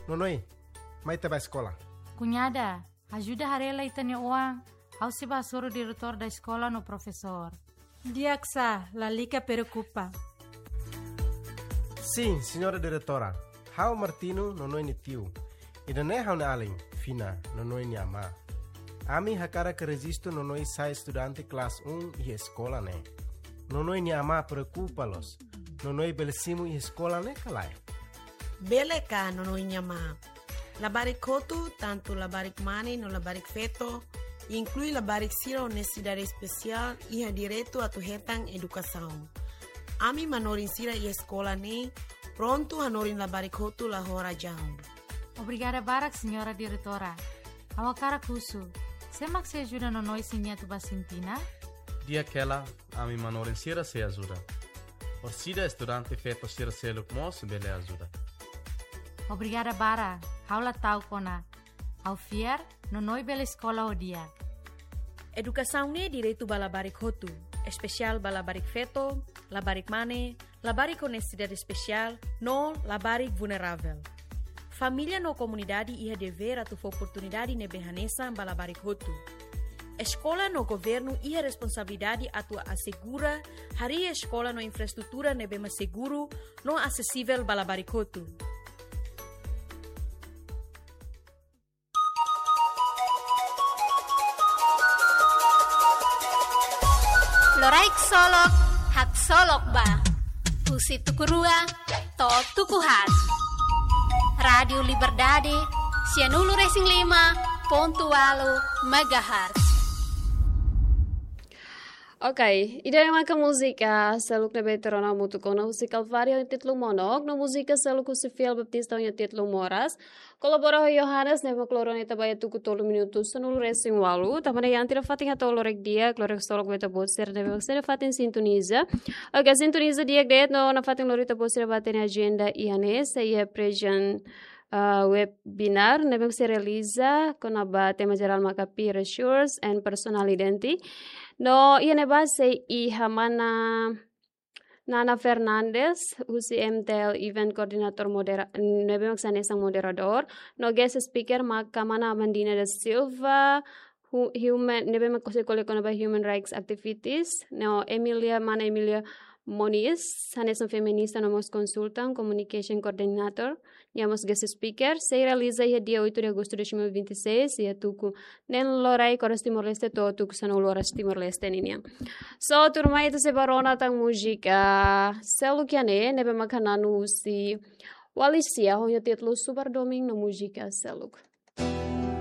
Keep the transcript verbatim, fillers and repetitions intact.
Nonoe, mai ita bá eskola. Kuñada, ajuda haree lai ita-nia oan, ha'u sei bá hasoru diretór da eskola no profesór. Di'ak sá, lalika preokupa. Sin, señora diretora. Ha'u Martino, Nonoe nia tiu. Ida-ne'e ha'u-nia alin, Fina, Nonoe nia amá. Ami hakarak rejistu Nonoe sai estudante kelas um iha eskola ne'e. Nonoe nia amá preokupa loos. Nonoe bele simu iha eskola ne'e ka lae? Bele ka, Nonoe nia amá. Labarik hotu, tantu labarik mane no labarik feto, inklui labarik sira ho nesesidade espesiál, iha direitu atu hetan edukasaun. Ami manorin sira iha eskola ne'e prontu hanorin labarik hotu la ho razaun. Obrigada barak, señora diretora. Ha'u hakarak husu, sé mak sei ajuda Nonoe siña atu bá sintina? Di'ak hela, ami manorin sira sei ajuda. Orsida estudante feto sira seluk mós bele ajuda. Obrigada barak, ha'u la ta'uk ona. Ha'u fiar, Nonoe bele eskola ho di'ak. Edukasaun ne'e direitu ba labarik hotu, espesiál ba labarik feto, labarik mane, labarik ho nesesidade espesiál, no labarik vulneravel. Família no komunidade iha devér atu fó oportunidade ne'ebé hanesan ba labarik hotu. Eskola no governu iha responsabilidade atu asegura harii eskola no infraestrutura ne'ebé mak seguru no asesivel ba labarik hotu. Loraik solok, haksolok ba. Husi tuku rua to'o tuku haat. Rádiu Liberdade, sianulu resin lima pontu ualu megahertz. Ok, ida-ne'e maka múzika seluk ne'ebé ita rona hamutuk ona husi Calvário ho títulu Monok, no múzika seluk husi Fiel Baptista ho títulu Moras. Kolabora ho Yohanes, ne'ebé mak loro ne'e ita ba iha tuku tolu minutu sanulu resin ualu. Tanba ne'e iha ita-nia fatin hato'o loraik di'ak, loraik solok ba ita-boot sira ne'ebé mak sei iha fatin sintoniza. Ok, sintoniza di'ak de'it no nafatin lori ita-boot sira ba hatene ajenda iha ne'e, sei iha prejen, ah, webinar ne'ebé mak sei realiza kona-ba tema jerál maka Peer Resource and Personal Identity. No iha ne'ebá sei iha mana Nana Fernandes, husi M T L Event Coordinator modera-, ne'ebé mak sei hanesan moderadór. No guest speaker maka mana Amandina da Silva, hu-, human, ne'ebé mak sei ko'alia kona-ba human rights activities. No Emilia, mana Emilia Moniz, hanesan feminista no mós konsultan, communication coordinator. Nia mós guest speaker, sei realiza iha dia oito de agosto de dois mil e vinte e seis, iha tuku neen loraik oras Timor-Leste to'o tuku sanulu oras Timor-Leste ninian. So, tuirmai ita sei bá rona tan múzika seluk iha ne'e, ne'ebé maka hananu husi Walisia, ho títulu Super Domingo no múzika seluk.